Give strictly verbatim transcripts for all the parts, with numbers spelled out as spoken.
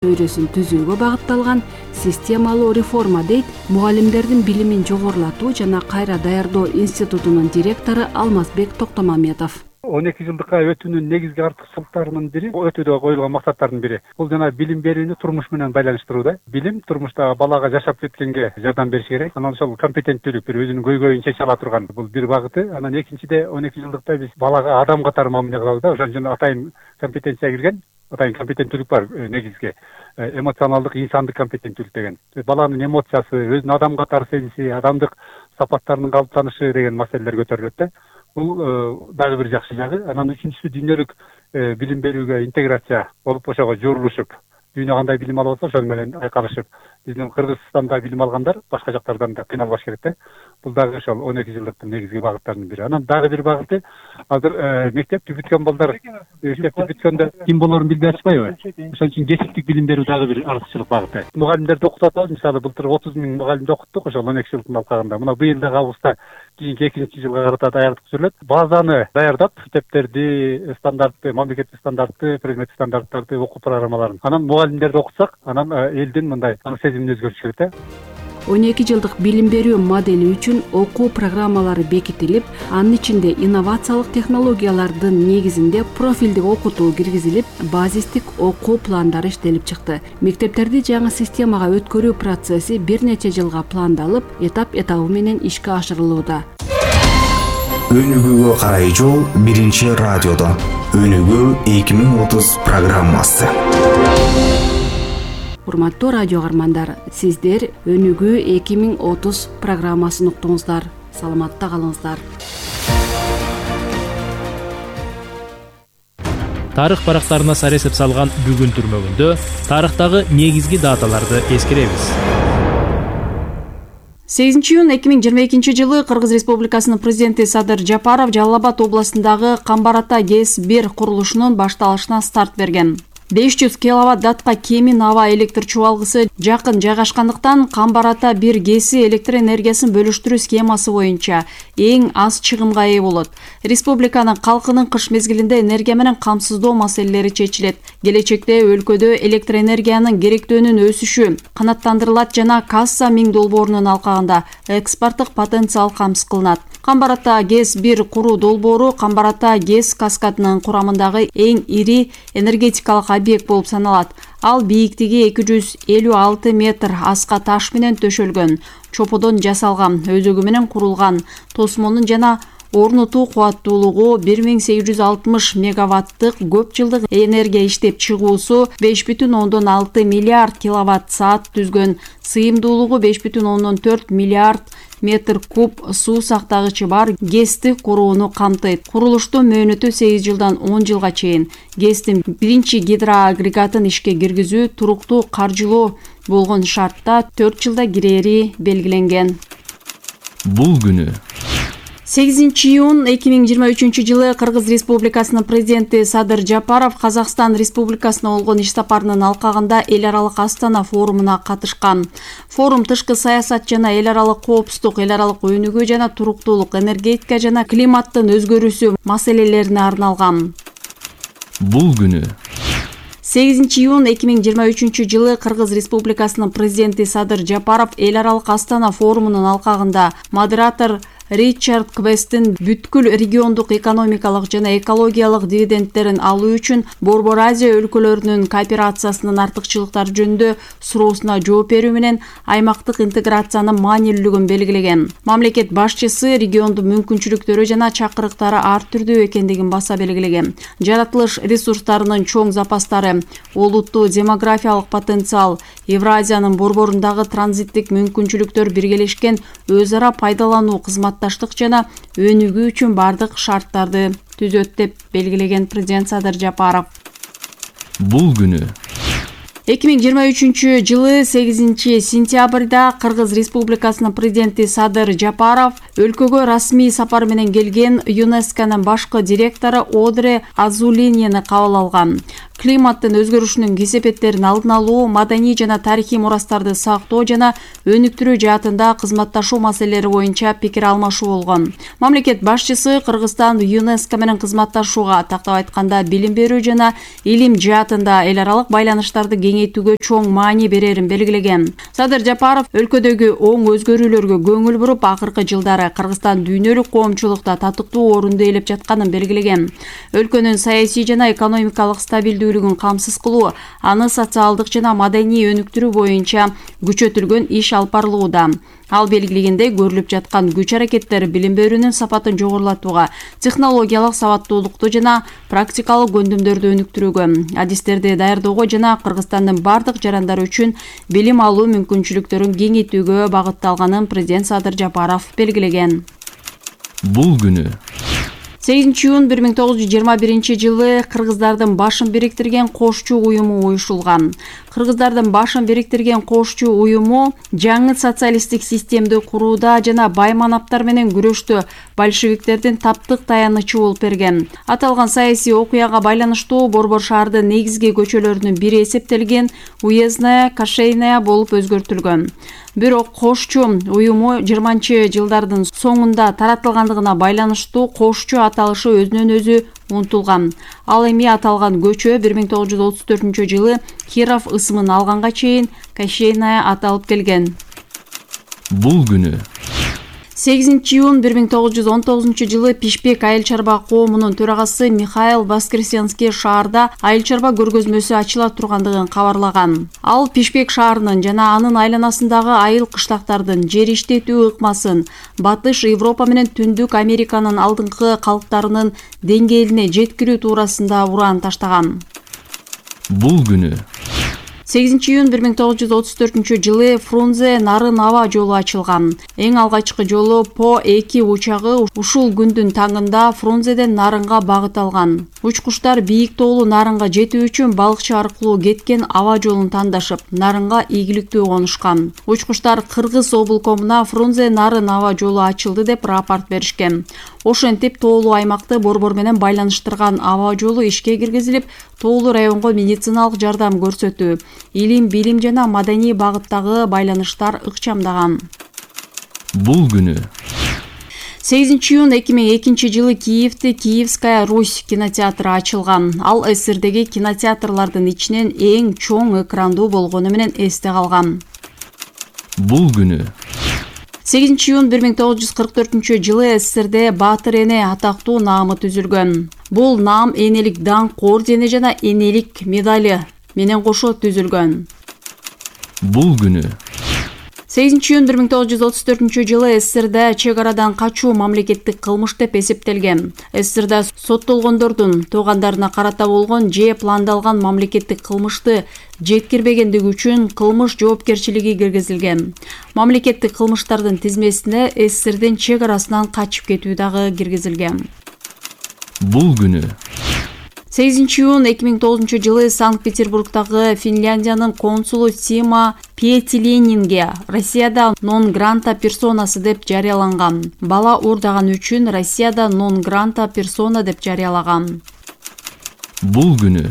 чөйрөсүн түзүүгө багытталган системалуу реформа дейт мугалимдердин билимин жогорулатуу жана кайра даярдоо институтунун директору Алмазбек Токтомаметов. он эки жылдыкка өтүүнүн негизги артыкчылыктарынын бири, өтүүдө коюлган максаттардын бири. Бул жана билим берүүнү турмуш менен байланыштырууда. Билим турмушта балага жашап кеткенге жардам бериш керек. Анан ошол компетенттүүлүк бир өзүнүн көйгөйүн чече ала турган бул бир багыты. Анан экинчиде он эки жылдыкта биз балага адам катары мамиле кылабыз да. Ошон үчүн атайын компетенция кирген. Атайын компетенттүүлүк бар негизги. Эмоционалдык, инсандык компетенттүүлүк деген. Баланын эмоциясы, өзүн адам катары сезиси, адамдык сапаттарынын калыптанышы деген маселелер көтөрүлөт да. Бул дагы бир жакшы жагы. Анан үчүнчүсү дүйнөлүк билим берүүгө интеграция болуп, ошого журулушуп, дүйнө кандай билим алып атса ошол менен айкалышып, биздин Кыргызстанда билим алгандар башка жактардан да кыйналбаш керек да. Бул дагы ошол он эки жылдыктын негизги багыттарынын бири. Анан дагы бир багыты, азыр мектепти бүткөн балдар, мектепти бүткөндө ким болорун билбей атышпайбы? Ошон үчүн кесиптик билим берүү дагы бир артыкчылык багыты. Мугалимдерди окутуп атабыз. Мисалы былтыр отуз миң мугалимди окуттук ошол он эки жылдын алкагында. Мына быйыл дагы августта кийинки экинчи жылга карата даярдык жүрүлөт. Базаны даярдап, мектептерди, стандартты, мамлекеттик стандартты, предмет стандарттарды, окуу программаларын. Анан мугалимдерди окутсак, анан элдин мындай сезимин өзгөртүш керек да. он эки жылдык билим берүү модели үчүн окуу программалары бекитилип, анын ичинде инновациялык технологиялардын негизинде профилдик окутуу киргизилип, базистик окуу пландары иштелип чыкты. Мектептерди жаңы системага өткөрүү процесси бир нече жылга пландалып, этап-этабы менен ишке ашырылууда. Өнүгүүгө карай жол биринчи радиодо. Өнүгүү эки миң отуз программасы. Урматтуу радио каармандар, сиздер Өнүгүү эки миң отуз программасын уктуңуздар. Саламатта калыңыздар. Тарых барактарына сар эсеп салган бүгүн түрмөгүндө тарыхтагы негизги даталарды эскеребиз. сегизинчи июнь эки миң жыйырма экинчи жылы Кыргыз Республикасынын президенти Садыр Жапаров Жалал Абад областындагы Камбар-Ата ГЭС бир курулушунун башталышына старт берген. беш жүз киловатт датка кемин аба электр чубалгысы жакын жайгашкандыктан Камбар-Ата бир ГЭСи электр энергиясын бөлүштүрүү схемасы боюнча эң аз чыгымга ээ болот. Республиканын калкынын кыш мезгилинде энергия менен камсыздоо маселелери чечилет. Келечекте өлкөдө электр энергиянын керектөөнүн өсүшү канааттандырылат жана касса миң долбоорунун алкагында экспорттук потенциал камсыз кылынат. Камбар-Ата ГЭС бир куруу долбоору Камбар-Ата ГЭС каскадынын курамындагы эң ири энергетикалык объект болуп саналат. Ал бийиктиги эки жүз элүү алты метр аска таш менен төшөлгөн, чоподон жасалган, өзөгү менен курулган, тосмонун жана орнотуу кубаттуулугу бир миң сегиз жүз алтымыш мегаваттык көп жылдык энергия иштеп чыгуусу беш бүтүн ондон алты миллиард киловатт саат түзгөн, сыйымдуулугу беш бүтүн ондон төрт миллиард метр куб суу сактагычы бар ГЭСти курууну камтыйт. Курулуштун мөөнөтү сегиз жылдан он жылга чейин. ГЭСтин биринчи гидроагрегатын ишке киргизүү туруктуу каржылоо болгон шартта төрт жылда кирери белгиленген. Бул күнү сегизинчи июнь эки миң жыйырма үчүнчү жылы Кыргыз Республикасынын президенти Садыр Жапаров Казакстан Республикасына болгон иш сапарынын алкагында эл аралык Астана форумуна катышкан. Форум тышкы саясат жана эл аралык коопсуздук, эл аралык өнүгүү жана туруктуулук, энергетика жана климаттын өзгөрүүсү маселелерине арналган. Бул күнү сегизинчи июнь эки миң жыйырма үчүнчү жылы Кыргыз Республикасынын президенти Садыр Жапаров эл аралык Астана форумунун алкагында модератор Ричард Квесттин бүткүл региондук экономикалык жана экологиялык дивидендтерин алуу үчүн Борбор Азия өлкөлөрүнүн кооперациясынын артыкчылыктары жөнүндө суроосуна жооп берүү менен аймактык интеграциянын маанилүүлүгүн белгилеген. Мамлекет башчысы региондун мүмкүнчүлүктөрү жана чакырыктары ар түрдүү экендигин баса белгилеген. Жаратылыш ресурстарынын чоң запастары, олуттуу демографиялык потенциал, Евразиянын борборундагы транзиттик мүмкүнчүлүктөр биргелешкен өз ара пайдалануу кызматташтык жана өнүгүү үчүн бардык шарттарды түзөт деп белгилеген президент Садыр Жапаров. Бул күнү эки миң жыйырма үчүнчү жылы сегизинчи сентябрда Кыргыз Республикасынын президенти Садыр Жапаров өлкөгө расмий сапар менен келген ЮНЕСКОнун башкы директору Одре Азулинини кабыл алган. климаттын өзгөрүшүнүн кесепеттерин алдын алуу, маданий жана тарыхый мурастарды сактоо жана өнүктүрүү жаатында кызматташуу маселелери боюнча пикир алмашуу болгон. Мамлекет башчысы Кыргызстан ЮНЕСКО менен кызматташууга, тактап айтканда билим берүү жана илим жаатында эл аралык байланыштарды кеңейтүү кеңейтүүгө чоң маани берерин белгилеген. Садыр Жапаров өлкөдөгү оң өзгөрүүлөргө көңүл буруп, акыркы жылдары Кыргызстан дүйнөлүк коомчулукта татыктуу орунду ээлеп жатканын белгилеген. Өлкөнүн саясий жана экономикалык стабилдүүлүгүн камсыз кылуу, аны социалдык жана маданий өнүктүрүү боюнча күчөтүлгөн иш алып барылууда. Ал белгилегендей, көрүлүп жаткан күч аракеттер билим берүүнүн сапатын жогорулатууга, технологиялык сабаттуулукту жана практикалык көндүмдөрдү өнүктүрүүгө, адистерди даярдоого жана Кыргызстандын бардык жарандары үчүн билим алуу мүмкүнчүлүктөрүн кеңейтүүгө багытталганын президент Садыр Жапаров белгилеген. Бул күнү сегизинчи июнь бир миң тогуз жүз жыйырма биринчи жылы кыргыздардын башын бириктирген кошчу уюму уюшулган. Кыргыздардын башын бириктирген кошчу уюму жаңы социалисттик системди курууда жана бай манаптар менен күрөштө большевиктердин таптык таянычы болуп берген. Аталган саясий окуяга байланыштуу Борбор шаардын негизги көчөлөрүнүн бири эсептелген Уездная, Кашейная болуп өзгөртүлгөн. Бирок кошчу уюму жыйырманчы жылдардын соңунда таратылгандыгына байланыштуу кошчу аталышы өзүнөн өзү унутулган. Ал эми аталган көчө бир миң тогуз жүз отуз төртүнчү жылы Киров ысымын алганга чейин Кашейная аталып келген. Бул күнү сегизинчи июнь бир миң тогуз жүз он тогузунчу жылы Пишпек айыл чарба коомунун төрагасы Михаил Воскресенский шаарда айыл чарба көргөзмөсү ачыла тургандыгын кабарлаган. Ал Пишпек шаарынын жана анын айланасындагы айыл кыштактардын жер иштетүү ыкмасын Батыш Европа менен Түндүк Американын алдыңкы калктарынын деңгээлине жеткирүү туурасында уран таштаган. Бул күнү сегизинчи июнь бир миң тогуз жүз отуз төртүнчү жылы Фрунзе Нарын аба жолу ачылган. Эң алгачкы жолу По эки учагы ушул күндүн таңында Фрунзеден Нарынга багыт алган. Учкуштар бийик тоолуу Нарынга жетүү үчүн балыкчы аркылуу кеткен аба жолун тандашып, Нарынга ийгиликтүү конушкан. Учкуштар Кыргыз облкомуна Фрунзе Нарын аба жолу ачылды деп рапорт беришкен. Ошентип тоолуу аймакты борбор менен байланыштырган аба жолу ишке киргизилип, тоолуу районго медициналык жардам көрсөтүү, илим, билим жана маданий багыттагы байланыштар ыкчамдаган. Бул күнү сегизинчи июнь эки миң экинчи жылы Киевде Киевская Русь кинотеатры ачылган. Ал СССРдеги кинотеатрлардын ичинен эң чоң экрандуу болгону менен эсте калган. Бул күнү сегизинчи июнь бир миң тогуз жүз кырк төртүнчү жылы СССРде Баатыр эне атактуу наамы түзүлгөн. Бул наам энелик даңк ордени жана энелик медали менен кошо түзүлгөн. Бул күнү сегизинчи июнь бир миң тогуз жүз отуз төртүнчү жылы СССРда чек арадан качуу мамлекеттик кылмыш деп эсептелген. СССРда соттолгондордун туугандарына карата болгон же пландалган мамлекеттик кылмышты жеткирбегендиги үчүн кылмыш жоопкерчилиги киргизилген. Мамлекеттик кылмыштардын тизмесине СССРдин чек арасынан качып кетүү дагы киргизилген. Бул күнү сегизинчи июнь эки миң тогузунчу жылы Санкт-Петербургдагы Финляндиянын консулу Сима Пиетиленинге Россияда нон гранта персонасы деп жарыяланган. Бала уурдаган үчүн Россияда нон гранта персона деп жарыялаган. Бул күнү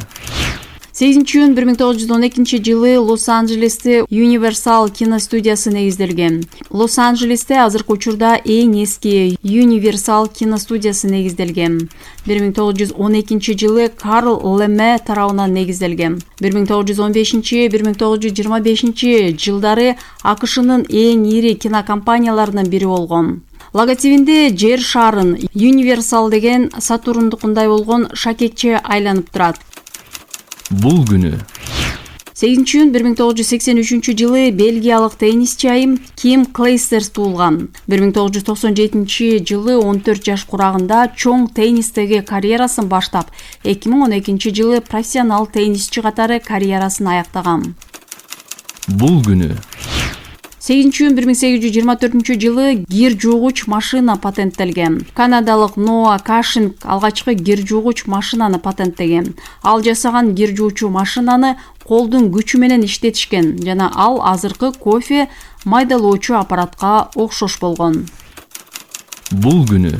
сегизинчи июнь бир миң тогуз жүз он экинчи жылы Лос-Анджелесте Universal киностудиясы негизделген. Лос-Анджелесте азыркы учурда эң эски Universal киностудиясы негизделген. бир миң тогуз жүз он экинчи жылы Карл Леме тарабынан негизделген. бир миң тогуз жүз он бешинчи — бир миң тогуз жүз жыйырма бешинчи жылдары АКШнын эң ири кинокомпанияларынын бири болгон. Логотипинде жер шарын Universal деген Сатурндукундай болгон шакекче айланып турат. Бул күнү сегизинчи июнь бир миң тогуз жүз сексен үчүнчү жылы бельгиялык теннисчи айым Ким Клейстерс туулган. бир миң тогуз жүз токсон жетинчи жылы он төрт жаш курагында чоң теннистеги карьерасын баштап, эки миң он экинчи жылы профессионал теннисчи катары карьерасын аяктаган. Бул күнү сегизинчи июнь бир миң сегиз жүз жыйырма төртүнчү жылы гир жуугуч машина патенттелген. Канадалык Ноа Кашинг алгачкы гир жуугуч машинаны патенттеген. Ал жасаган гир жуучу машинаны колдун күчү менен иштетишкен жана ал азыркы кофе майдалоочу аппаратка окшош болгон. Бул күнү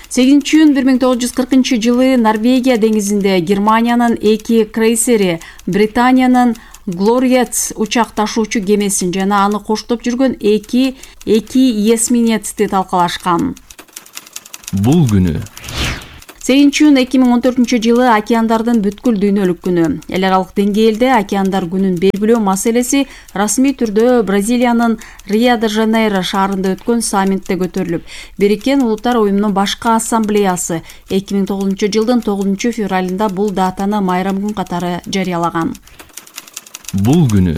сегизинчи июнь бир миң тогуз жүз кыркынчы жылы Норвегия деңизинде Германиянын эки крейсери Британиянын Глориец учак ташуучу кемесин жана аны коштоп жүргөн эки эки эсминецти талкалашкан. Бул күнү сегизинчи июнь эки миң он төртүнчү жылы океандардын бүткүл дүйнөлүк күнү. Эл аралык деңгээлде океандар күнүн белгилөө маселеси расмий түрдө Бразилиянын Рио-де-Жанейро шаарында өткөн саммитте көтөрүлүп, Бириккен Улуттар уюмунун башкы ассамблеясы эки миң тогузунчу жылдын тогузунчу февралында бул датаны майрам күн катары жарыялаган. Бул күнү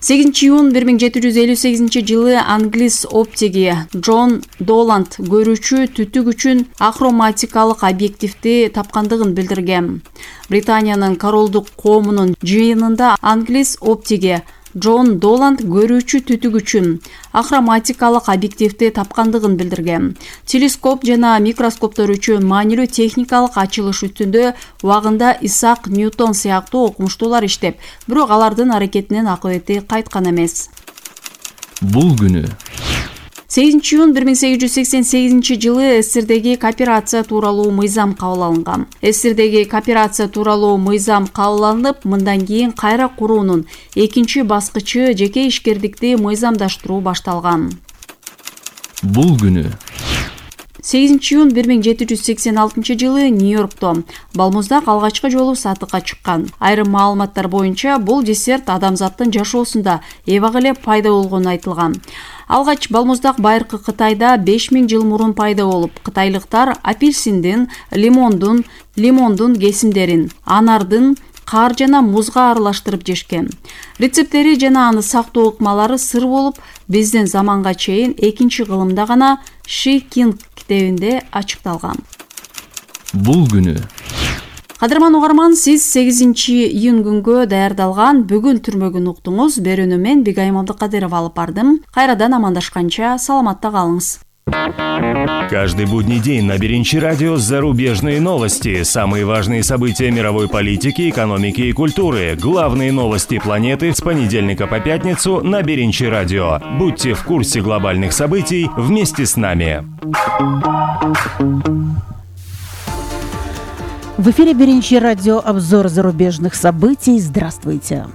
сегизинчи июнь бир миң жети жүз элүү сегизинчи жылы англис оптиги Джон Доланд көрүүчү түтүк үчүн ахроматикалык объективди тапкандыгын билдирген. Британиянын королдук коомунун жыйынында англис оптиги Джон Доланд көрүүчү түтүк үчүн ахроматикалык объективди тапкандыгын билдирген. Телескоп жана микроскоптор үчүн маанилүү техникалык ачылыш үстүндө убагында Исаак Ньютон сыяктуу окумуштуулар иштеп, бирок алардын аракетинин акыбети кайткан эмес. Бул күнү сегизинчи июнь бир миң сегиз жүз сексен сегизинчи жылы СССРдеги кооперация тууралуу мыйзам кабыл алынган. СССРдеги кооперация тууралуу мыйзам кабыл алынып, мындан кийин кайра куруунун экинчи баскычы жеке ишкердикти мыйзамдаштыруу башталган. Бул күнү сегизинчи июнь бир миң жети жүз сексен алтынчы жылы Нью-Йоркто балмуздак алгачкы жолу сатыкка чыккан. Айрым маалыматтар боюнча бул десерт адамзаттын жашоосунда эбак эле пайда болгону айтылган. Алгач балмуздак байыркы Кытайда беш миң жыл мурун пайда болуп, кытайлыктар апельсиндин, лимондун, лимондун кесимдерин, анардын, каар жана музга аралаштырып жешкен. Рецептери жана аны сактоо ыкмалары сыр болуп, биздин заманга чейин экинчи кылымда гана Ши Кинг китебинде ачыкталган. Бул күнү Кадырман угарман, сиз сегизинчи июнь күнгө даярдалган бүгүн түрмөгүн уктуңуз. Берүүнү мен Бигайым Абдыкадырова алып бардым. Кайрадан амандашканча саламатта калыңыз. Каждый будний день на Беринчи радио зарубежные новости, самые важные события мировой политики, экономики и культуры, главные новости планеты с понедельника по пятницу на Беринчи радио. Будьте в курсе глобальных событий вместе с нами. В эфире Беринчи радио, обзор зарубежных событий. Здравствуйте.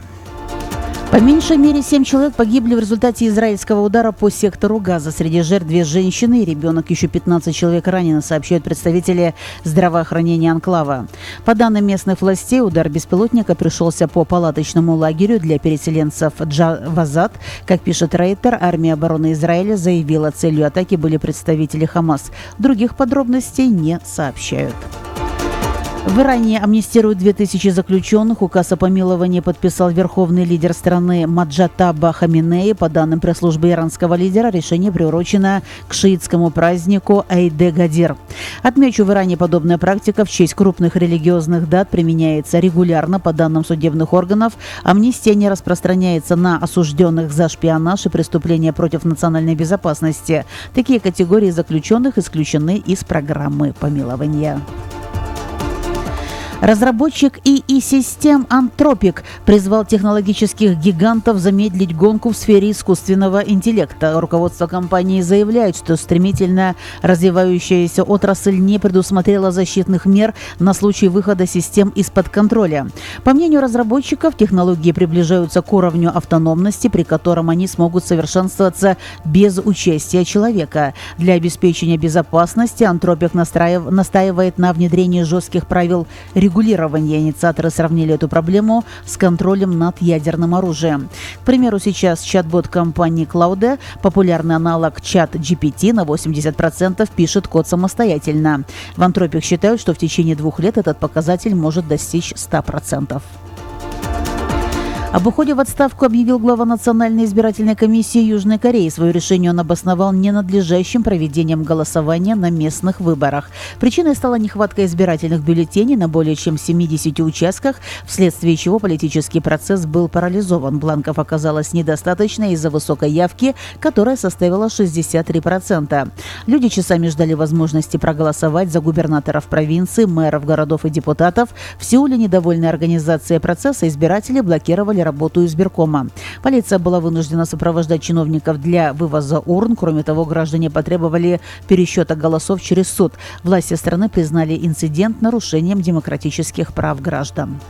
По меньшей мере семь человек погибли в результате израильского удара по сектору Газа. Среди жертв две женщины и ребенок. Еще пятнадцать человек ранено, сообщают представители здравоохранения анклава. По данным местных властей, удар беспилотника пришелся по палаточному лагерю для переселенцев Джавазат. Как пишет Рейтер, армия обороны Израиля заявила, целью атаки были представители Хамас. Других подробностей не сообщают. В Иране амнистируют две тысячи заключенных. Указ о помиловании подписал верховный лидер страны Маджатаба Хаминеи. По данным пресс-службы иранского лидера, решение приурочено к шиитскому празднику Айд-э-Гадир. Отмечу, в Иране подобная практика в честь крупных религиозных дат применяется регулярно. По данным судебных органов, амнистия не распространяется на осужденных за шпионаж и преступления против национальной безопасности. Такие категории заключенных исключены из программы помилования. Разработчик ИИ-систем Anthropic призвал технологических гигантов замедлить гонку в сфере искусственного интеллекта. Руководство компании заявляет, что стремительно развивающаяся отрасль не предусмотрела защитных мер на случай выхода систем из-под контроля. По мнению разработчиков, технологии приближаются к уровню автономности, при котором они смогут совершенствоваться без участия человека. Для обеспечения безопасности Anthropic настраив... настаивает на внедрении жестких правил регулирования. Регулирование. Инициаторы сравнили эту проблему с контролем над ядерным оружием. К примеру, сейчас чат-бот компании Claude, популярный аналог чат джи пи ти, на восемьдесят процентов пишет код самостоятельно. В Anthropic считают, что в течение двух лет этот показатель может достичь ста процентов. Об уходе в отставку объявил глава Национальной избирательной комиссии Южной Кореи. Свое решение он обосновал ненадлежащим проведением голосования на местных выборах. Причиной стала нехватка избирательных бюллетеней на более чем семидесяти участках, вследствие чего политический процесс был парализован. Бланков оказалось недостаточно из-за высокой явки, которая составила шестьдесят три процента. Люди часами ждали возможности проголосовать за губернаторов провинции, мэров городов и депутатов. В Сеуле, недовольные организацией процесса, избиратели блокировали работу избиркома. Полиция была вынуждена сопровождать чиновников для вывоза урн. Кроме того, граждане потребовали пересчета голосов через суд. Власти страны признали инцидент нарушением демократических прав граждан.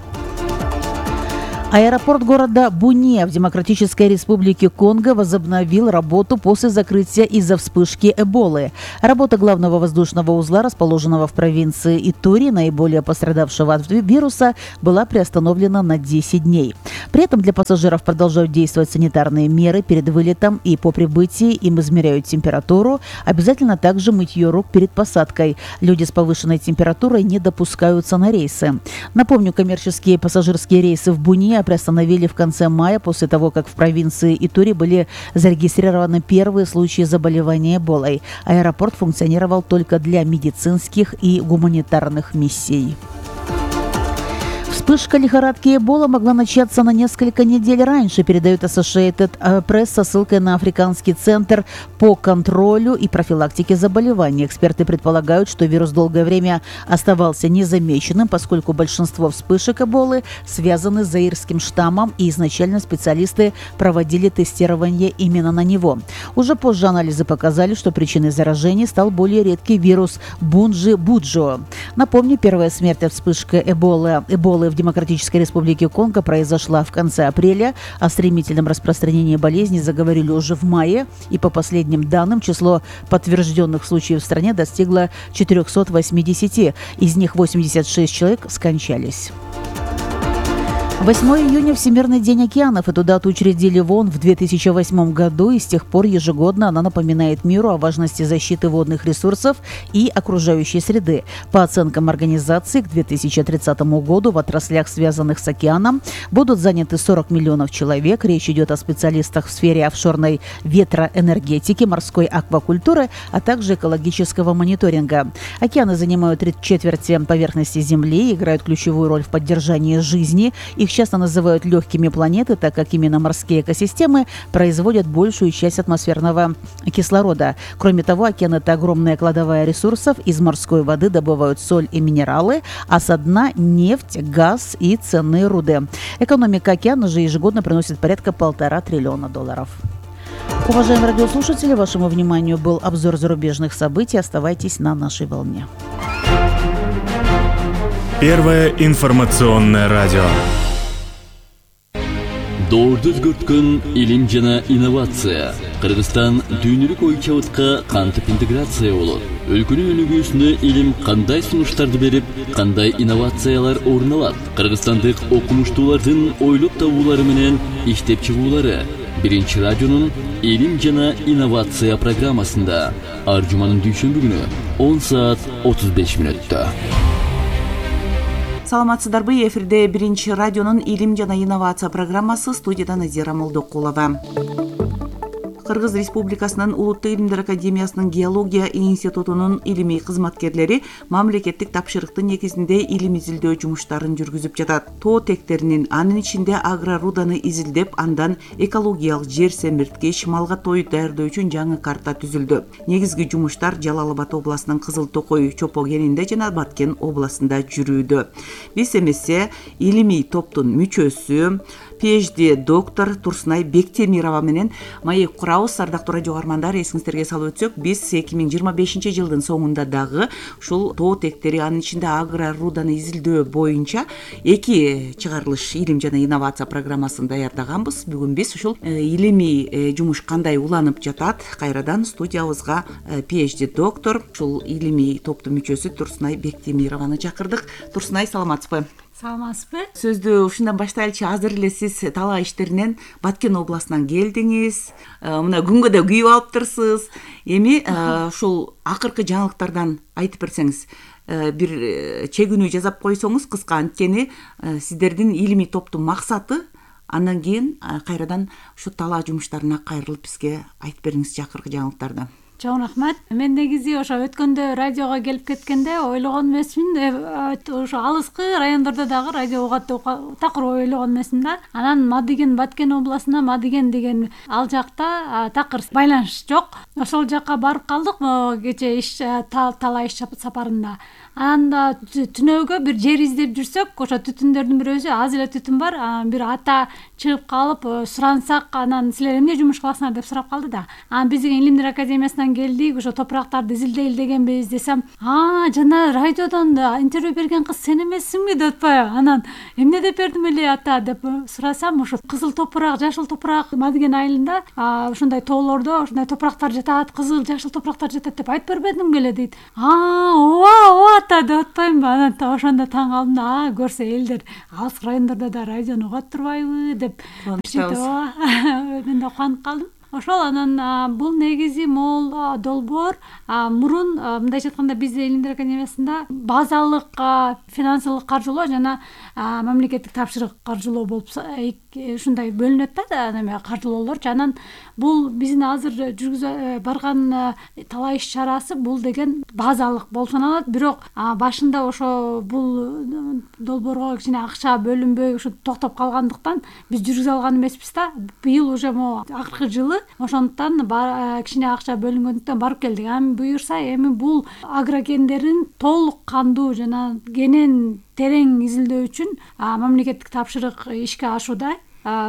Аэропорт города Буния в Демократической Республике Конго возобновил работу после закрытия из-за вспышки Эболы. Работа главного воздушного узла, расположенного в провинции Итури, наиболее пострадавшего от вируса, была приостановлена на десять дней. При этом для пассажиров продолжают действовать санитарные меры перед вылетом, и по прибытии им измеряют температуру. Обязательно также мытье рук перед посадкой. Люди с повышенной температурой не допускаются на рейсы. Напомню, коммерческие пассажирские рейсы в Буния приостановили в конце мая после того, как в провинции Итури были зарегистрированы первые случаи заболевания Эболой. Аэропорт функционировал только для медицинских и гуманитарных миссий. Вспышка лихорадки Эбола могла начаться на несколько недель раньше, передает Associated Press со ссылкой на Африканский центр по контролю и профилактике заболеваний. Эксперты предполагают, что вирус долгое время оставался незамеченным, поскольку большинство вспышек Эболы связаны с заирским штаммом, и изначально специалисты проводили тестирование именно на него. Уже позже анализы показали, что причиной заражения стал более редкий вирус Бунджи-Буджо. Напомню, первая смерть от вспышки Эболы, Эболы в Демократической Республике Конго произошла в конце апреля. О стремительном распространении болезни заговорили уже в мае, и по последним данным число подтвержденных случаев в стране достигло четырехсот восьмидесяти. Из них восемьдесят шесть человек скончались. восьмого июня – Всемирный день океанов. Эту дату учредили в ООН в две тысячи восьмом году, и с тех пор ежегодно она напоминает миру о важности защиты водных ресурсов и окружающей среды. По оценкам организации, к две тысячи тридцатому году в отраслях, связанных с океаном, будут заняты сорок миллионов человек. Речь идет о специалистах в сфере офшорной ветроэнергетики, морской аквакультуры, а также экологического мониторинга. Океаны занимают три четверти поверхности Земли и играют ключевую роль в поддержании жизни. Их часто называют легкими планеты, так как именно морские экосистемы производят большую часть атмосферного кислорода. Кроме того, океан – это огромная кладовая ресурсов. Из морской воды добывают соль и минералы, а со дна – нефть, газ и ценные руды. Экономика океана же ежегодно приносит порядка полтора триллиона долларов. Уважаемые радиослушатели, вашему вниманию был обзор зарубежных событий. Оставайтесь на нашей волне. Первое информационное радио. Доорду өзгөрткөн илим жана инновация. Кыргызстан дүйнөлүк ой чабытка кантип интеграция болот? Өлкөнүн өнүгүүсүнө илим кандай сунуштарды берип, кандай инновациялар орун алат? Кыргызстандык окумуштуулардын ойлоп табуулары менен иштеп чыгуулары. Биринчи радионун илим жана инновация программасында ар жуманын дүйшөмбү күнү он саат отуз беш мүнөттө. Саламатсыздарбы, эфирде биринчи радионун илим жана инновация программасы, студияда Назира Молдокулова. Кыргыз Республикасынын Улуттук илимдер академиясынын геология институтунун илимий кызматкерлери мамлекеттик тапшырыктын негизинде илим изилдөө жумуштарын жүргүзүп жатат. Тоо тектеринин, анын ичинде агроруданы изилдеп, андан экологиялык жер семирткич, малга той даярдоо үчүн жаңы карта түзүлдү. Негизги жумуштар Жалал Абад областынын Кызыл Токой Чопо кенинде жана Баткен областында жүрүүдө. Биз эмесе илимий топтун мүчөсү PhD доктор Турсунай Бектемирова менен маек курабыз. Ардактуу радио каармандар, эсиңиздерге салып өтсөк, биз эки миң жыйырма бешинчи жылдын соңунда дагы ушул тоо тектери, анын ичинде агроруданы изилдөө боюнча эки чыгарылыш илим жана инновация программасын даярдаганбыз. Бүгүн биз ушул илимий жумуш кандай уланып жатат, кайрадан студиябызга PhD доктор, ушул илимий топтун мүчөсү Турсунай Бектемированы чакырдык. Турсунай, саламатсызбы? Саламатсызбы? Сөздү ушундан баштайлычы. Азыр эле сиз талаа иштеринен Баткен областынан келдиңиз. Мына күнгө да күйүп алыптырсыз. Эми ушул акыркы жаңылыктардан айтып берсеңиз, бир чегүүнү жасап койсоңуз кыска, анткени сиздердин илимий топтун максаты, андан кийин кайрадан ушу талаа жумуштарына кайрылып бизге айтып бериңизчи акыркы жаңылыктарды. Чоң рахмат. Мен негизи ошо өткөндө радиого келип кеткенде ойлогон эмесмин, ошо алыскы райондордо дагы радио угат деп такыр ойлогон эмесмин да. Анан Мадыген, Баткен областына Мадыген деген ал жакта такыр байланыш жок. Ошол жакка барып калдык кече иш талаа иш сапарында. анан да түнөөгө бир жер издеп жүрсөк, ошо түтүндөрдүн бирөөсү аз эле түтүн бар, бир ата чыгып калып сурансак, анан силер эмне жумуш кыласыңар деп сурап калды да. Анан биз деген Илимдер академиясынан келдик, ошо топурактарды изилдей дегенбиз десем, а жана радиодон интервью берген кыз сен эмессиңби деп атпайбы? Анан эмне деп бердим эле ата деп сурасам, ошо кызыл топурак, жашыл топурак Мадыген айылында ушундай тоолордо ушундай топурактар жатат, кызыл, жашыл топурактар жатат деп айтып бербедиң беле дейт. А, ооба, ооба ата деп атпаймынбы? Анан ошондо таң калдым да, а көрсө элдер алыс райондордо да радиону угат турбайбы деп. Мен да кубанып калдым. Ошол анан бул негизи могул долбоор мурун мындайча айтканда бизде Илимдер академиясында базалык финансылык каржылоо жана мамлекеттик тапшырык каржылоо болуп ушундай бөлүнөт да, неме каржылоолорчу. Анан бул биздин азыр жүргүзө барган талай иш чарасы бул деген базалык болуп саналат. Бирок башында ошо бул долбоорго кичине акча бөлүнбөй ушу токтоп калгандыктан биз жүргүзө алган эмеспиз да. Быйыл уже могу акыркы жылы ошондуктан кичине акча бөлүнгөндүктөн барып келдик. Эми буюрса, эми бул агрокендерин толук кандуу жана кенен терең изилдөө үчүн мамлекеттик тапшырык ишке ашууда.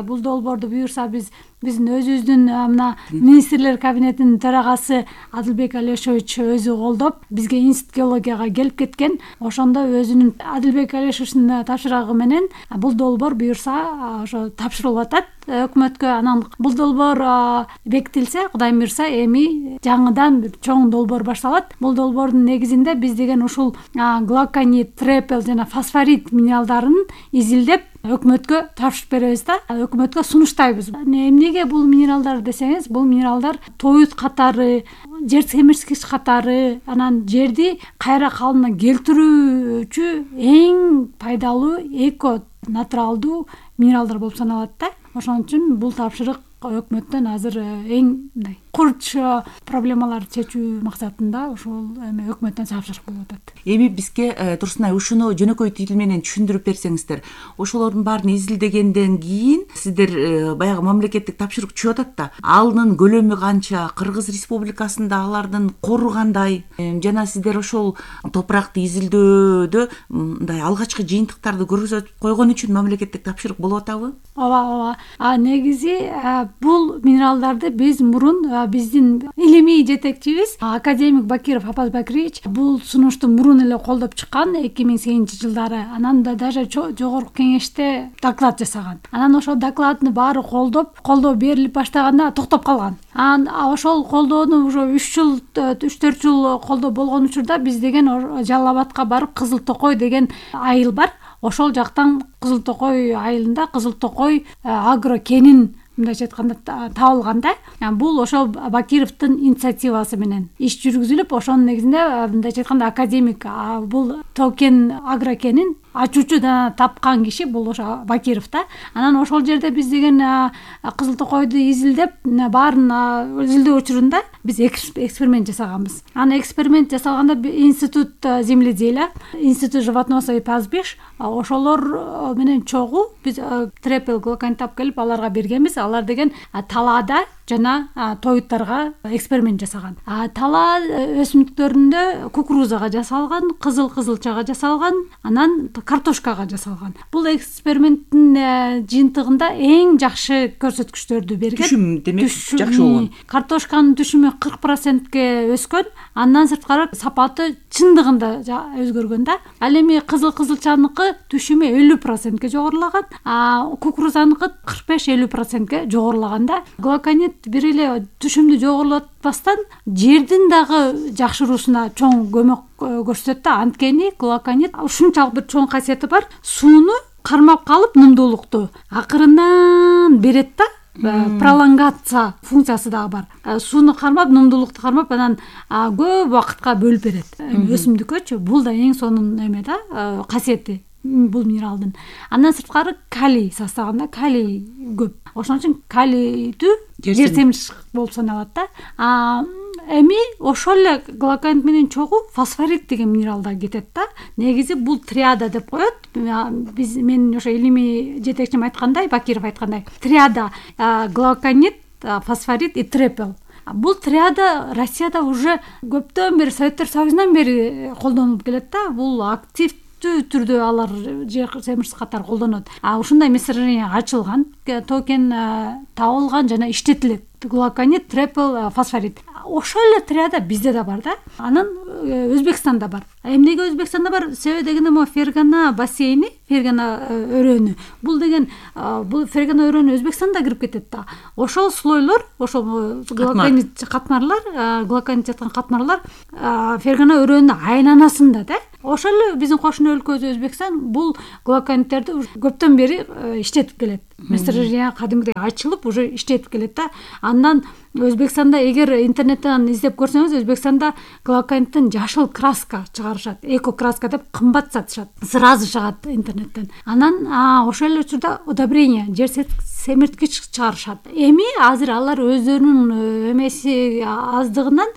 Бул долбоорду буюрса биз биздин өзүбүздүн мына министрлер кабинетинин төрагасы Адылбек Алешович өзү колдоп, бизге институт геологияга келип кеткен. Ошондо өзүнүн Адылбек Алешовичтин тапшырыгы менен бул долбоор буюрса ошо тапшырылып атат өкмөткө. Анан бул долбоор бекитилсе, Кудай буюрса, эми жаңыдан бир чоң долбоор башталат. Бул долбоордун негизинде биз деген ушул глоконит, трепел жана фосфорит минералдарын изилдеп өкмөткө тапшырып беребиз да, өкмөткө сунуштайбыз. Эмнеге бул минералдар десеңиз, бул минералдар тоют катары, жер семирткич катары, анан жерди кайра калыбына келтирүүчү эң пайдалуу эко натуралдуу минералдар болуп саналат да. Ошон үчүн бул тапшырык өкмөттөн азыр эң мындай курч проблемаларды чечүү максатында ошол эми өкмөттөн тапшырык болуп атат. Эми бизге Турсунай ушуну жөнөкөй тил менен түшүндүрүп берсеңиздер. Ошолордун баарын изилдегенден кийин сиздер баягы мамлекеттик тапшырык түшүп атат да, алынын көлөмү канча, Кыргыз Республикасында алардын кору кандай, жана сиздер ошол топуракты изилдөөдө мындай алгачкы жыйынтыктарды көрсөтүп койгон үчүн мамлекеттик тапшырык болуп атабы? Ооба, ооба. А негизи бул минералдарды биз мурун биздин илимий жетекчибиз академик Бакиров Апаз Бакирович бул сунушту мурун эле колдоп чыккан эки миң сегизинчи жылдары. Анан да даже жогорку кеңеште доклад жасаган. Анан ошол докладны баары колдоп, колдоо берилип баштаганда токтоп калган. Анан ошол колдоону уже үч жыл, үч төрт жыл колдоо болгон учурда биз деген Жалал Абадка барып Кызыл Токой деген айыл бар. Ошол жактан Кызыл Токой айылында Кызыл Токой агрокенин мындайча айтканда табылганда, бул ошол Бакировдун инициативасы менен иш жүргүзүлүп, ошонун негизинде мындайча айтканда академик бул токен агрокенин ачуучу да тапкан киши бул ошо Бакиров да. Анан ошол жерде биз деген Кызыл Токойду изилдеп, баарын изилдөө учурунда биз эксперимент жасаганбыз. Анан эксперимент жасалганда институт земледелия, институт животноводства и пастбищ ошолор менен чогуу биз трепел глоконит алып келип аларга бергенбиз. Алар деген талаада жана тоюттарга эксперимент жасаган. Тала өсүмдүктөрүндө кукурузага жасалган, кызыл кызылчага жасалган, анан картошкага жасалган. Бул эксперименттин жыйынтыгында эң жакшы көрсөткүчтөрдү берген. Түшүм демек жакшы болгон. Картошканын түшүмү кырк процентке өскөн, андан сырткары сапаты чындыгында өзгөргөн да. Ал эми кызыл кызылчаныкы түшүмү элүү процентке жогорулаган, кукурузаныкы кырк беш элүү процентке жогорулаган да. Глоконит бир эле түшүмдү жогорулатпастан жердин дагы жакшыруусуна чоң көмөк көрсөтөт да. Анткени глоконит ушунчалык бир чоң касиети бар. Сууну кармап калып нымдуулукту акырындан берет да. Пролонгация функциясы дагы бар. Сууну кармап, нымдуулукту кармап, анан көп убакытка бөлүп берет. Өсүмдүккөчү бул да эң сонун эме да, касиети бул минералдын. Андан сырткары калий составында калий көп. Ошон үчүн калийдүү жер семирткич болуп саналат да. Эми ошол эле глоконит менен чогуу фосфорит деген минерал да кетет да. Негизи бул триада деп коет. Биз мен ошо илимий жетекчим айткандай, Бакиров айткандай, триада глоконит, фосфорит и трепел. бул триада Россияда уже көптөн бери Советтер Союзунан бери колдонулуп келет да. Бул активдүү түрдө алар жер семирчис катары колдонот. А ушундай месторождение ачылган, токен табылган жана иштетилет. Глуконит, трипл фосфорид. Ошол эле триада бизде да бар да. Анан Өзбекстанда бар. Эмнеге Өзбекстанда бар? Себеби дегенде могу Фергана бассейни, Фергана өрөөнү. Бул деген бул Фергана өрөөнү Өзбекстанда кирип кетет да. Ошол слойлор, ошол глуконит катмарлар, глуконит жаткан катмарлар Фергана өрөөнүнүн айланасында да. Ошол эле биздин кошуна өлкөбүз Өзбекстан бул глукониттерди көптөн бери иштетип келет. Месторождение кадимгидей ачылып уже иштетип келет да. Андан Өзбекстанда эгер интернеттен издеп көрсөңүз, Өзбекстанда глукониттен жашыл краска чыгарышат, эко краска деп кымбат сатышат. Сразу чыгат интернеттен. Анан ошол эле учурда удобрение, жер семирткич чыгарышат. Эми азыр алар өздөрүнүн эмеси аздыгынан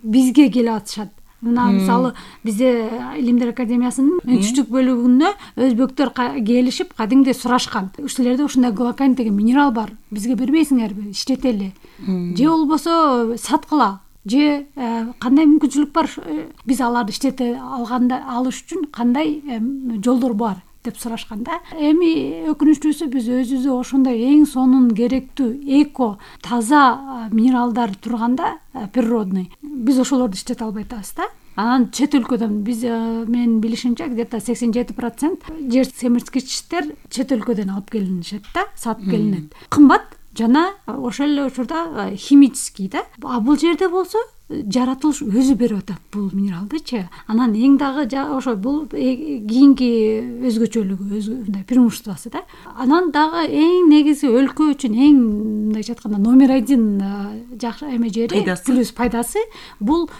бизге келип атышат. Мына мисалы бизде Илимдер академиясынын үчтүк бөлүгүнө өзбектөр келишип кадимде сурашкан. Ушулерде ушундай глуконит деген минерал бар. Бизге бербейсиңерби? Иштетели. Же болбосо саткыла. Же кандай мүмкүнчүлүк бар? Биз аларды иштете алганда алыш үчүн кандай жолдор бар деп сурашканда. Эми өкүнүчтүүсү биз өзүбүздө ошондой эң сонун керектүү эко таза минералдар турганда природный биз ошолорду иштете албай атабыз да. Анан чет өлкөдөн биз менин билишимче где-то сексен жети процент жер семирткичтер чет өлкөдөн алып келинишет да, сатып келинет. Кымбат жана ошол эле учурда химический да. А бул жерде болсо жаратылыш өзү берип атат бул минералдычы. Анан эң дагы ошо бул кийинки өзгөчөлүгү, мындай преимуществосу да. Анан дагы эң негизи өлкө үчүн эң мындайча айтканда номер один жакшы эме жери плюс пайдасы бул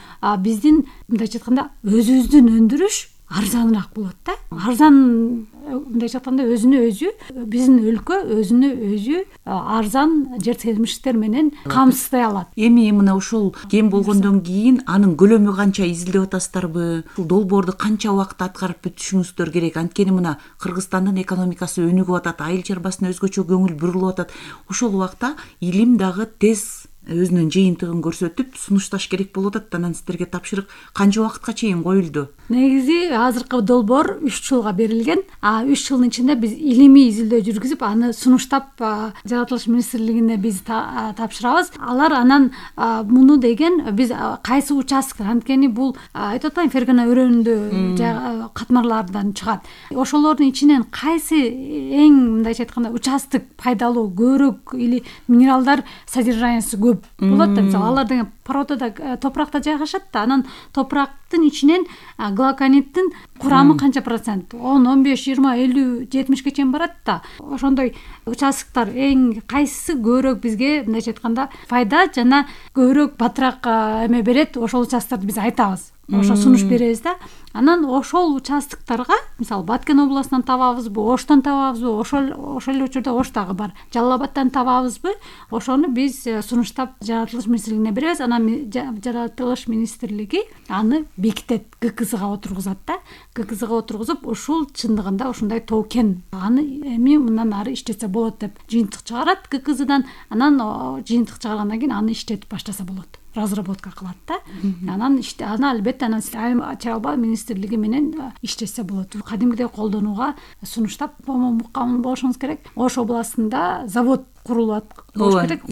биздин мындайча айтканда өзүбүздүн өндүрүш арзаныраак болот да. Арзан мындайча айтканда өзүнө өзү биздин өлкө өзүнө өзү арзан жер семирчистер менен камсыздай алат. Эми мына ушул кем болгондон кийин анын көлөмү канча изилдеп атасыздарбы? Ушул долбоорду канча убакытта аткарып бүтүшүңүздөр керек? Анткени мына Кыргызстандын экономикасы өнүгүп атат, айыл чарбасына өзгөчө көңүл бурулуп атат. Ошол убакта илим дагы тез өзүнүн жыйынтыгын көрсөтүп сунушташ керек болуп атат. Анан сиздерге тапшырык канча убакытка чейин коюлду? Негизи азыркы долбоор үч жылга берилген. А үч жылдын ичинде биз илимий изилдөө жүргүзүп, аны сунуштап жаратылыш министрлигине биз тапшырабыз. Алар анан муну деген биз кайсы участок, анткени бул айтып атпайм, Фергана өрөөнүндө катмарлардан чыгат. Ошолордун ичинен кайсы эң мындайча айтканда участок пайдалуу, көбүрөөк или минералдар содержаниясы көп болот да. Мисалы алар деген породада, топуракта жайгашат да. Анан топурактын ичинен глукониттин курамы канча процент? он, он беш, жыйырма, элүү, жетимишке чейин барат да. Ошондой участоктор эң кайсысы көбүрөөк бизге мындайча айтканда файда жана көбүрөөк батыраак эме берет, ошол участокторду биз айтабыз. Ошо сунуш беребиз да. Анан ошол участоктарга, мисалы Баткен областынан табабызбы, Оштон табабызбы, ошол ошол эле учурда Ош дагы бар. Жалал Абадтан табабызбы? Ошону биз сунуштап жаратылыш министрлигине беребиз. Анан жаратылыш министрлиги аны бекитет, ГКЗга отургузат да. ГКЗга отургузуп, ушул чындыгында ушундай токен. Аны эми мындан ары иштетсе болот деп жыйынтык чыгарат ГКЗдан. Анан жыйынтык чыгаргандан кийин аны иштетип баштаса болот. Разработка кылат да. Анан иште аны албетте анан чалба министрлиги менен иштесе болот. Кадимгидей колдонууга сунуштап болушуңуз керек. Ош областында завод курулат болуш керек,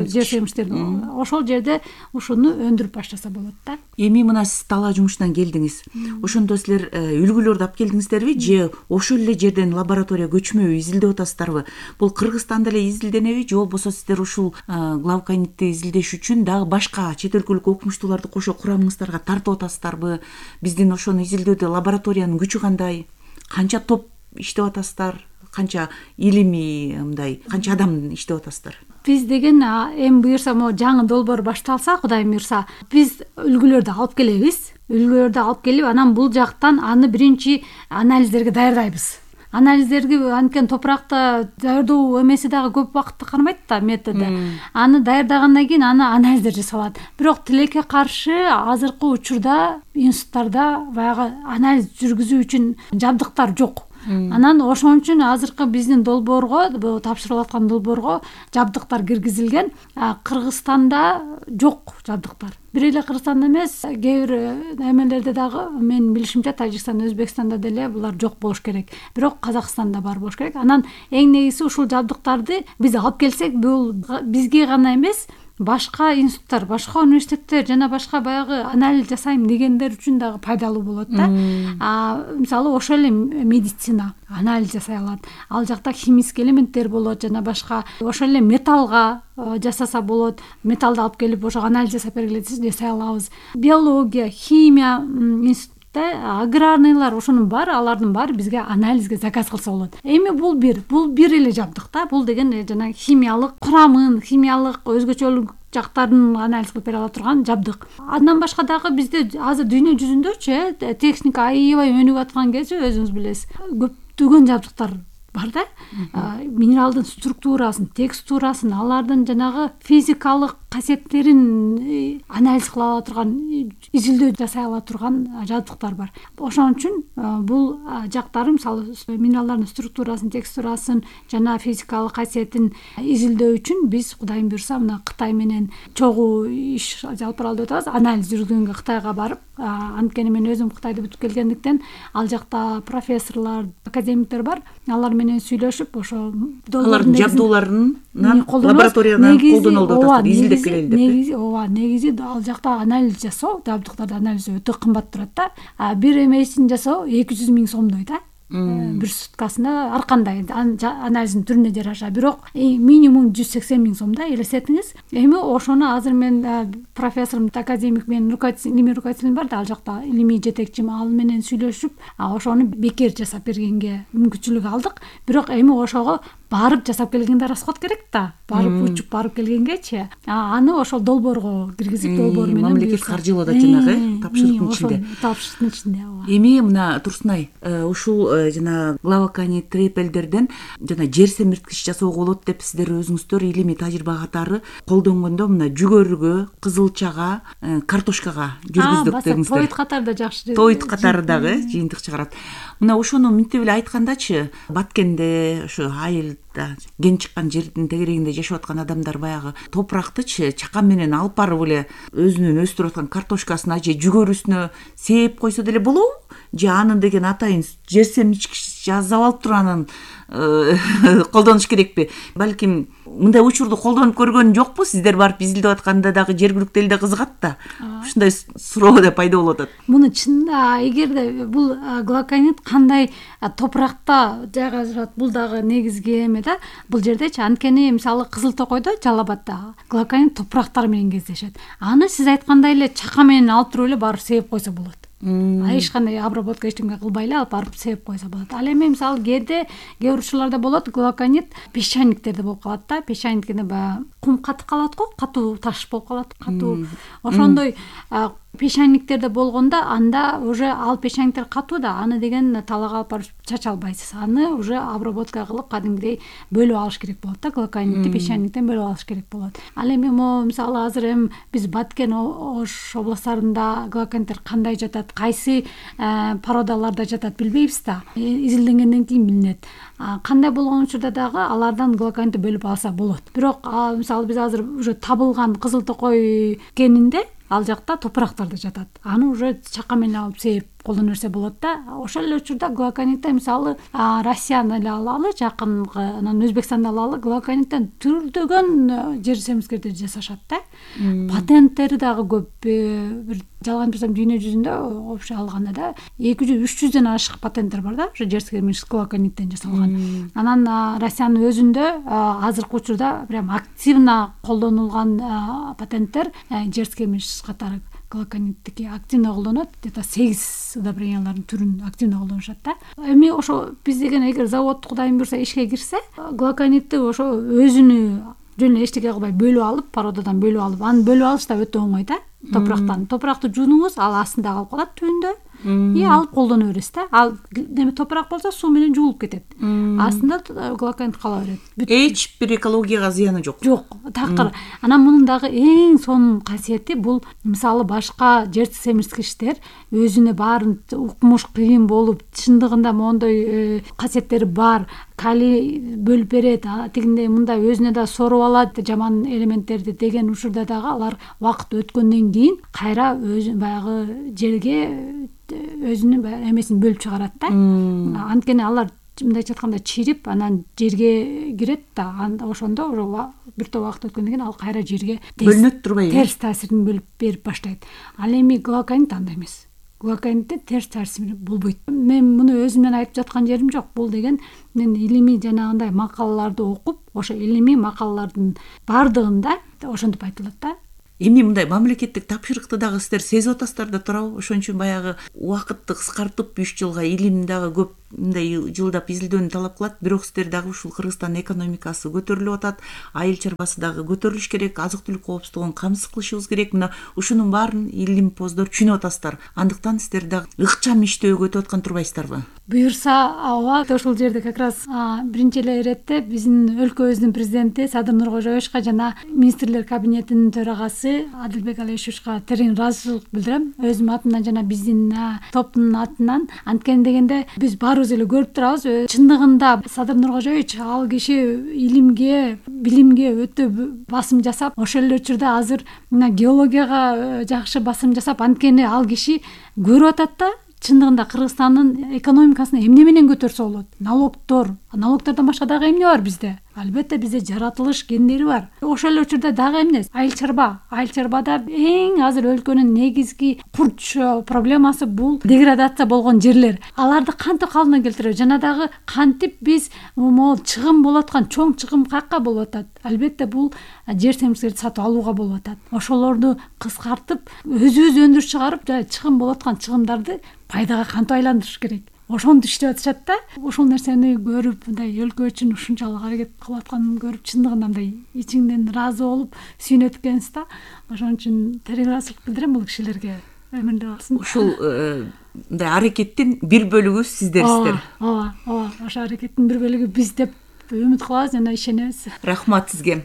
жер семирчистердин. Ошол жерде ушуну өндүрүп баштаса болот да. Эми мына сиз талаа жумуштан келдиңиз. Ошондо силер үлгүлөрдү алып келдиңиздерби же ошол эле жерден лаборатория көчмө изилдеп атасыздарбы? Бул Кыргызстанда эле изилденеби же болбосо сиздер ушул глуконитти изилдеш үчүн дагы башка чет өлкөлүк окумуштууларды кошо курамыңыздарга тартып атасыздарбы? Биздин ошону изилдөөдө лабораториянын күчү кандай? Канча топ иштеп атасыздар? Канча илимий мындай канча адам иштеп атасыздар? Биз деген эми буюрса могу жаңы долбоор башталса, Кудайым буюрса, биз үлгүлөрдү алып келебиз. Үлгүлөрдү алып келип, анан бул жактан аны биринчи анализдерге даярдайбыз. Анализдерге анткени топуракта даярдоо эмеси дагы көп убакытты кармайт да, методу. Аны даярдагандан кийин аны анализдер жасалат. Бирок тилекке каршы азыркы учурда институттарда баягы анализ жүргүзүү үчүн жабдыктар жок. Анан ошон үчүн азыркы биздин долбоорго, тапшырылып аткан долбоорго жабдыктар киргизилген. Кыргызстанда жок жабдыктар. Бир эле Кыргызстанда эмес, кээ бир эмелерде дагы мен билишимче Тажикстанда, Өзбекстанда деле булар жок болуш керек. Бирок Казакстанда бар болуш керек. Анан эң негизги ушул жабдыктарды биз алып келсек, бул бизге гана эмес, башка институттар, башка университеттер жана башка баягы анализ жасайм дегендер үчүн дагы пайдалуу болот да. А мисалы ошол эле медицина анализ жасай алат. Ал жакта химический элементтер болот жана башка. Ошол эле металлга жасаса болот. Металлды алып келип ошо анализ жасап бергиле десек жасай алабыз. Биология, химия институт, аграрныйлар, ошонун баары, алардын баары бизге анализге заказ кылса болот. Эми бул бир, бул бир эле жабдык да. Бул деген жана химиялык курамын, химиялык өзгөчөлүк жактарын анализ кылып бере ала турган жабдык. Андан башка дагы бизде азыр дүйнө жүзүндөчү техника аябай өнүгүп аткан кезде өзүңүз билесиз, көптөгөн жабдыктар бар да. Минералдын структурасын, текстурасын, алардын жанагы физикалык касиеттерин анализ кыла ала турган, изилдөө жасай ала турган жабдыктар бар. Ошон үчүн бул жактары, мисалы минералдардын структурасын, текстурасын жана физикалык касиетин изилдөө үчүн биз Кудайым буйрса мына Кытай менен чогуу иш алып баралы деп атабыз. Анализ жүргүзгөнгө Кытайга барып, анткени мен өзүм Кытайды бүтүп келгендиктен ал жакта профессорлор, академиктер бар. Алар менен сүйлөшүп, ошо алардын жабдууларын лабораториядан колдонулуп атат, изилдеп келели деп. Негизи, ооба, негизи ал жакта анализ жасоо, жабдыктарды анализ өтө кымбат турат да. Бир эмесин жасоо эки жүз миң сомдой да. Бир суткасына ар кандай анализдин түрүнө жараша. Бирок минимум жүз сексен миң сом да, элестетиңиз. Эми ошону азыр мен профессорум, академик менин илимий руководителим бар да, ал жакта илимий жетекчим, ал менен сүйлөшүп, ошону бекер жасап бергенге мүмкүнчүлүк алдык. Бирок эми ошого барып жасап келгенде расход керек да. Барып учуп барып келгенгечи, аны ошол долбоорго киргизип, долбоор менен мамлекет каржылоодо жанагы тапшырыктын ичинде. Тапшырыктын ичинде. Эми мына Турсунай, ушул жана главоконит трепелдерден жана жер семирткич жасоого болот деп сиздер өзүңүздөр илимий тажрыйба катары колдонгондо мына жүгөрүгө, кызылчага, картошкага жүргүздүк дедиңиздер. Тоит катары да жакшы. Тоит катары дагы жыйынтык чыгарат. Мына ошону мынтип эле айткандачы, Баткенде ошо айылда кен чыккан жердин тегерегинде жашап аткан адамдар баягы топурактычы чакан менен алып барып эле өзүнүн өстүрүп аткан картошкасына же жүгөрүсүнө сээп койсо деле болобу? Же аны деген атайын жер семирткич жасап алып туруп анан колдонуш керекпи? Балким мындай учурду колдонуп көргөн жокпу? Сиздер барып изилдеп атканда дагы жергиликтүү элде кызыгат да. Ушундай суроо да пайда болуп атат. Муну чынында эгерде бул главоконит кандай топуракта жайгашат, бул дагы негизги эме да. Бул жердечи анткени мисалы Кызыл Токойдо, Жалал Абадда главоконит топурактар менен кездешет. Аны сиз айткандай эле чака менен алып туруп эле барып сээп койсо болот. Эч кандай обработка эчтеме кылбай эле алып барып сээп койсо болот. Ал эми мисалы кээде кээ бир учурларда болот, главоконит песчаниктерде болуп калат да. Песчаниктеде баягы кум катып калат го, катуу таш болуп калат, катуу. Ошондой песчаниктерде болгондо анда уже ал песчаниктер катуу да, аны деген талаага алып барып чача албайсыз. Аны уже обработка кылып кадимгидей бөлүп алыш керек болот да, главоконитти песчаниктен бөлүп алыш керек болот. Ал эми могу мисалы азыр эми биз Баткен, Ош областарында главокониттер кандай жатат, кайсы породаларда жатат билбейбиз да. Изилденгенден кийин билинет. Кандай болгон учурда дагы алардан главоконитти бөлүп алса болот. Бирок мисалы биз азыр уже табылган Кызыл Токой кенинде ал жакта топурактарда жатат. Аны уже чака менен алып сээп колдоно берсе болот да. Ошол эле учурда главоконитти мисалы Россияны эле алалы, жакынкы, анан Өзбекстанды алалы, главокониттен түрдөгөн жер семирткичтерди жасашат да. Патенттери дагы көп. Бир жалган айтпасам дүйнө жүзүндө общий алганда да эки жүз үч жүздөн ашык патенттер бар да, ошо жер семирткич главокониттен жасалган. Анан Россиянын өзүндө азыркы учурда прям активно колдонулган патенттер жер семирткич катары главокониттики активно колдонот. Где-то сегиз удобрениялардын түрүн активно колдонушат да. Эми ошо биз деген эгер завод Кудайым буйрса ишке кирсе, главоконитти ошо өзүнү жөн эле эчтеке кылбай бөлүп алып, породадан бөлүп алып, аны бөлүп алыш да өтө оңой да. Топурактан топуракты жуунуңуз, ал астында калып калат түбүндө. и алып колдоно бересиз да. Ал неме топурак болсо суу менен жуулуп кетет. Астында глоконит кала берет. Эч бир экологияга зыяны жок. Жок, такыр. Анан мунун дагы эң сонун касиети бул мисалы башка жер семирткичтер өзүнө баарын укмуш кыйын болуп, чындыгында мондой касиеттери бар. Калий бөлүп берет, тигиндей мындай өзүнө да соруп алат жаман элементтерди деген учурда дагы алар убакыт өткөндөн кийин кайра өзү баягы жерге өзүнүн эмесин бөлүп чыгарат да. Анткени алар мындайча айтканда чирип, анан жерге кирет да. Ошондо бир топ убакыт өткөндөн кийин ал кайра жерге бөлүнөт турбайбы? Терс таасирин бөлүп берип баштайт. Ал эми глоконит андай эмес. Глоконитте терс таасир болбойт. Мен муну өзүмдөн айтып жаткан жерим жок. Бул деген мен илимий жанагындай макалаларды окуп, ошо илимий макалалардын бардыгында ошентип айтылат да. Эми мындай мамлекеттик тапшырыкты дагы сиздер сезип атасыздар да туурабы? Ошон үчүн баягы убакытты кыскартып үч жылга илим дагы көп мындай жылдап изилдөөнү талап кылат. Бирок сиздер дагы ушул Кыргызстандын экономикасы көтөрүлүп атат, айыл чарбасы дагы көтөрүлүш керек, азык-түлүк коопсуздугун камсыз кылышыбыз керек. Мына ушунун баарын илимпоздор түшүнүп атасыздар. Андыктан сиздер дагы ыкчам иштөөгө өтүп аткан турбайсыздарбы? Буюрса, ооба, ошол жерде как раз биринчи эле иретте биздин өлкөбүздүн президенти Садыр Нуркожоевичка жана министрлер кабинетинин төрагасы Адилбек Алишевичка терең ыраазычылык билдирем. Өзүм атымдан жана биздин топтун атынан. Анткени дегенде биз баарыбыз эле көрүп турабыз. Чындыгында Садыр Нуркожоевич ал киши илимге, билимге өтө басым жасап, ошол эле учурда азыр мына геологияга жакшы басым жасап, анткени ал киши көрүп атат да. Чындыгында Кыргызстандын экономикасын эмне менен көтөрсө болот? Налогдор. Налогдордон башка дагы эмне бар бизде? Албетте бизде жаратылыш гендери бар. Ошол эле учурда дагы эмне? Айыл чарба. Айыл чарбада эң азыр өлкөнүн негизги курч проблемасы бул деградация болгон жерлер. Аларды кантип калыбына келтиребиз? Жана дагы кантип биз могул чыгым болуп аткан чоң чыгым какка болуп атат? Албетте бул жер семирткичтерди сатып алууга болуп атат. Ошолорду кыскартып, өзүбүз өндүрүп чыгарып, чыгым болуп аткан чыгымдарды пайдага кантип айландырыш керек? Ошону иштеп атышат да. Ошол нерсени көрүп, мындай өлкө үчүн ушунчалык аракет кылып атканын көрүп, чындыгында мындай ичиңден ыраазы болуп, сүйүнөт экенсиз да. Ошон үчүн терең ыраазычылык билдирем бул кишилерге. Өмүрүндө калсын. Ушул мындай аракеттин бир бөлүгү сиздерсиздер. Ооба, ооба, ошо аракеттин бир бөлүгү биз деп үмүт кылабыз жана ишенебиз. Рахмат сизге.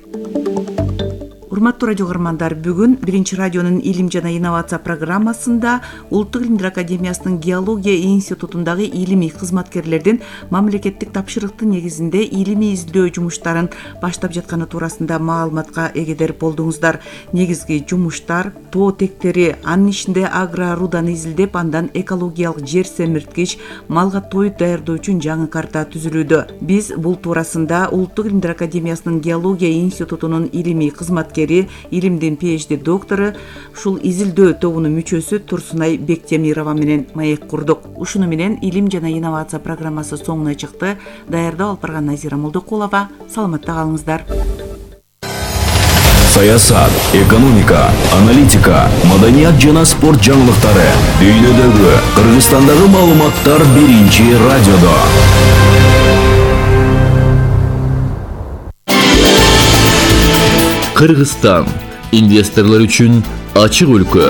Урматтуу радио көрөрмандар, бүгүн биринчи радионун илим жана инновация программасында Улуттук илимдер академиясынын геология институтундагы илимий кызматкерлердин мамлекеттик тапшырыктын негизинде илимий изилдөө жумуштарын баштап жатканы туурасында маалыматка эгедер болдуңуздар. Негизги жумуштар тоо тектери, анын ичинде агроруданы изилдеп, андан экологиялык жер семирткич, малга тоют даярдоо үчүн жаңы карта түзүлүүдө. Биз бул туурасында Улуттук илимдер академиясынын геология институтунун илимий кызматкери, илимдин PhD доктору, ушул изилдөө тобунун мүчөсү Турсунай Бектемирова менен маек курдук. Ушуну менен илим жана инновация программасы соңуна чыкты. Даярдоо алып барган Назира Молдокулова. Саламатта калыңыздар. Саясат, экономика, аналитика, маданият жана спорт жаңылыктары, дүйнөдөгү, Кыргызстандагы маалыматтар биринчи радиодо. Кыргызстан инвесторлор үчүн ачык өлкө.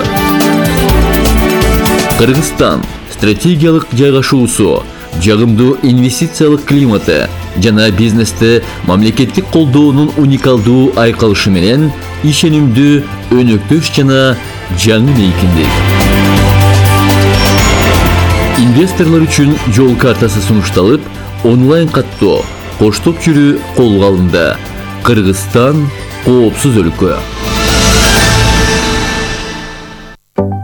Кыргызстан стратегиялык жайгашуусу, жагымдуу инвестициялык климаты жана бизнесте мамлекеттик колдоонун уникалдуу айкалышы менен ишенимдүү, өнөктөш жана жаңы мейкиндик. Инвесторлор үчүн жол картасы сунушталып, онлайн каттоо, коштоп жүрүү колго алынды. Кыргызстан коопсуз өлкө.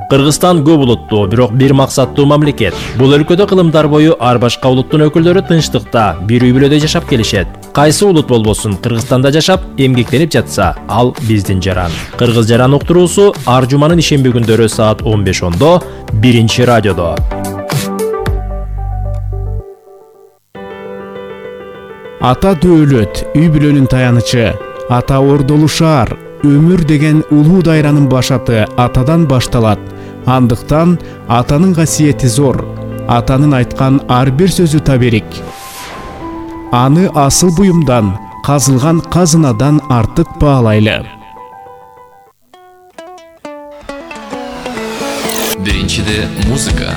Кыргызстан көп улуттуу, бирок бир максаттуу мамлекет. Бул өлкөдө кылымдар бою ар башка улуттун өкүлдөрү тынчтыкта, бир үй бүлөдө жашап келишет. Кайсы улут болбосун, Кыргызстанда жашап, эмгектенип жатса, ал биздин жаран. Кыргыз жаран уктуруусу ар жуманын ишемби күндөрү саат он беш ондо биринчи радиодо. Ата дөөлөт, үй бүлөнүн таянычы. Ата ордолуу шаар, өмүр деген улуу дайранын башаты атадан башталат. Андыктан атанын касиети зор. Атанын айткан ар бир сөзү таберик. Аны асыл буюмдан, казылган казынадан артык баалайлы. Биринчиде музыка.